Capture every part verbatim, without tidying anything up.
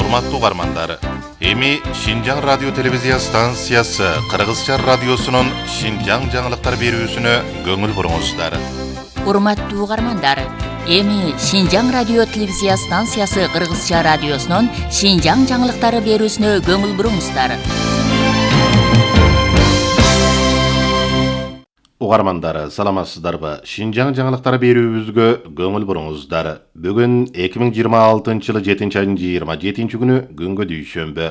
Урматтуу угармандар, эми Шинжаң радио телевизия станциясы Кыргызча радиосунун Шинжаң жаңылыктар берүүсүнө көңүл буруңуздар. Урматтуу угармандар, эми Шинжаң радио телевизия станциясы Кыргызча радиосунун Шинжаң жаңылыктары берүүсүнө көңүл буруңуздар. Угармандар, саламатсыздарбы? Шинжаң жаңылыктары берүүбүзгө көңүл буруңуздар. Бүгүн эки миң жыйырма алтынчы жылы жетинчи айдын жыйырма жетинчи күнү күнгө дүйшөмбү.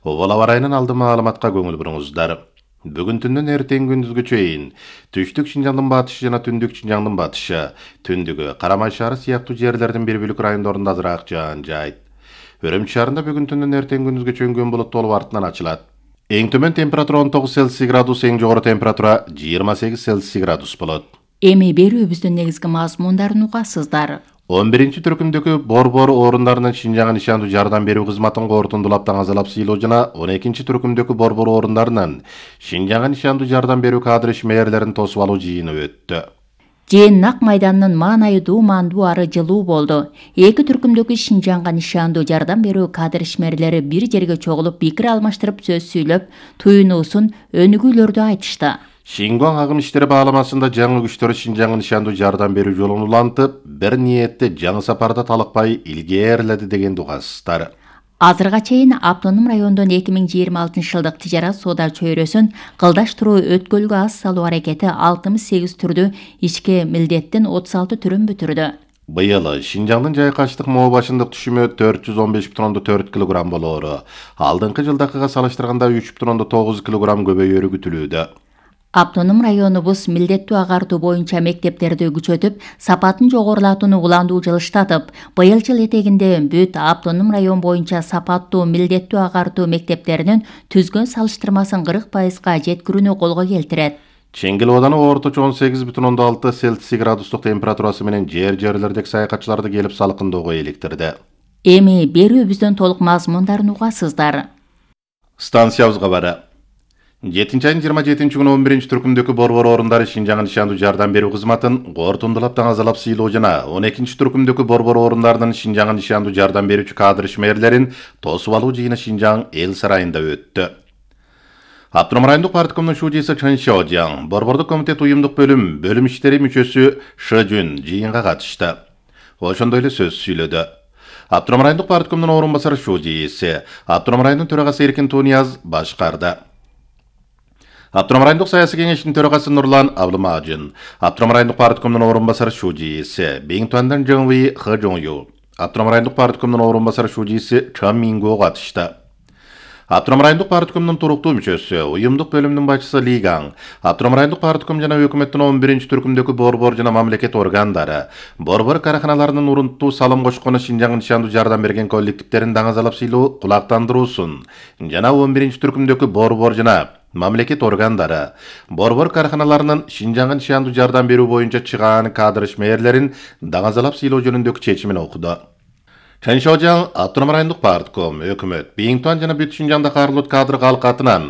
Обол аба ырайынын алды маалыматка көңүл буруңуздар. Бүгүн түндөн эртең күндүзгө чейин түштүк Шинжаңдын батышы жана түндүк Шинжаңдын батышы, түндүгү Карамай шаары сыяктуу жерлердин бир бөлүк райондорунда азыраак жаан жайт. Өрөмчү шаарында бүгүн түндөн эртең күндүзгө чейин күн булуттуу болуп артынан ачылат. Эң төмөн температура он тогуз Цельсий градус, эң жогору температура жыйырма сегиз Цельсий градус болот. Эми берүүбүздүн негизги мазмундарын угасыздар. он биринчи түркүмдөгү борбор орундарынын Шинжаңга нишандуу жардам берүү кызматын кортундулап таңазалап сыйлоо жана он экинчи түркүмдөгү борбор орундарынын Шинжаңга нишандуу жардам берүү кадр ишмерлерин тосуп алуу жыйыны өттү. Жээн Нак майданынын маанайы дуумандуу ары жылуу болду. Эки түркүмдөгү Шинжаңга нишандуу жардам берүү кадр ишмерлери бир жерге чогулуп пикир алмаштырып сөз сүйлөп, туюнуусун, өнүгүүлөрдү айтышты. Шингуан агым иштери бааламасында жаңы күчтөр Шинжаңга нишандуу жардам берүү жолун улантып, бир ниетте жаңы сапарда талыкпай илгээрледи деген угасыздар. Азырга чейин Автоном райондон эки миң жыйырма алтынчы жылдык тижарат соода чөйрөсүн кылдаштыруу өткөлгө аз салуу аракети алтымыш сегиз түрдүү ички милдеттин отуз алты түрүн бүтүрдү. Быйыл Шинжаңдын жайкачтык моо башындык түшүмү төрт жүз он беш бүтүн ондон төрт килограмм болоору. Алдыңкы жылдакыга салыштырганда үч бүтүн ондон тогуз килограмм көбөйөрү күтүлүүдө. Автоном районубуз милдеттүү агартуу боюнча мектептерди күчөтүп, сапатын жогорулатууну уландуу жылыштатып, быйыл жыл этегинде бүт Автоном район боюнча сапаттуу милдеттүү агартуу мектептеринин түзгөн салыштырмасын кырк пайызга жеткирүүнү колго келтирет. Чеңгел ооданы орточо он сегиз бүтүн ондон алты Цельсий градустук температурасы менен жер-жерлердеги саякатчыларды келип салкындоого иликтирди. Эми берүүбүздүн толук мазмундарын угасыздар. Станциябызга бара. жетинчи айдын жыйырма жетинчи күнү он биринчи түркүмдөгү борбор орундары Шинжаңга нишандуу жардам берүү кызматын кортундулап таңазалап сыйлоо жана он экинчи түркүмдөгү борбор орундарынын Шинжаңга нишандуу жардам берүүчү кадр ишмерлерин тосуп алуу жыйыны Шинжаң эл сарайында өттү. Автоном райондук парткомдун шужиси Чын Шожаң, борбордук комитет уюмдук бөлүм бөлүм иштери мүчөсү Шы Жүн жыйынга катышты. Ошондой эле сөз сүйлөдү. Автоном райондук парткомдун орун басары шужиси, Автоном районунун төрагасы Эркин Тунияз башкарды. Автоном райондук саясий кеңештин төрагасы Нурлан Абылмажын, Автоном райондук парткомдун орун басары шужиси Беңтуандан Жыңви Хы Жоңю, Автоном райондук парткомдун орун басары шужиси Чан Минго катышты. Автоном райондук парткомдун туруктуу мүчөсү, уюмдук бөлүмдүн башчысы Ли Гаң, Автоном райондук партком жана өкмөттүн он биринчи түркүмдөгү борбор жана мамлекет органдары, борбор караханаларынын урунттуу салым кошкону Шинжаңга нишандуу жардам берген коллективдерин даңазалап сыйлоо кулактандыруусун жана он биринчи түркүмдөгү борбор жана мамлекет органдары, борбор караханаларынын Шинжаңга нишандуу жардам берүү боюнча чыгаан кадр ишмерлерин даңазалап сыйлоо жөнүндөгү чечимин окуду. Чын Шожаң Автоном райондук партком, өкмөт, Беңтуан жана бүт Шинжаңда карылот кадр калкатынан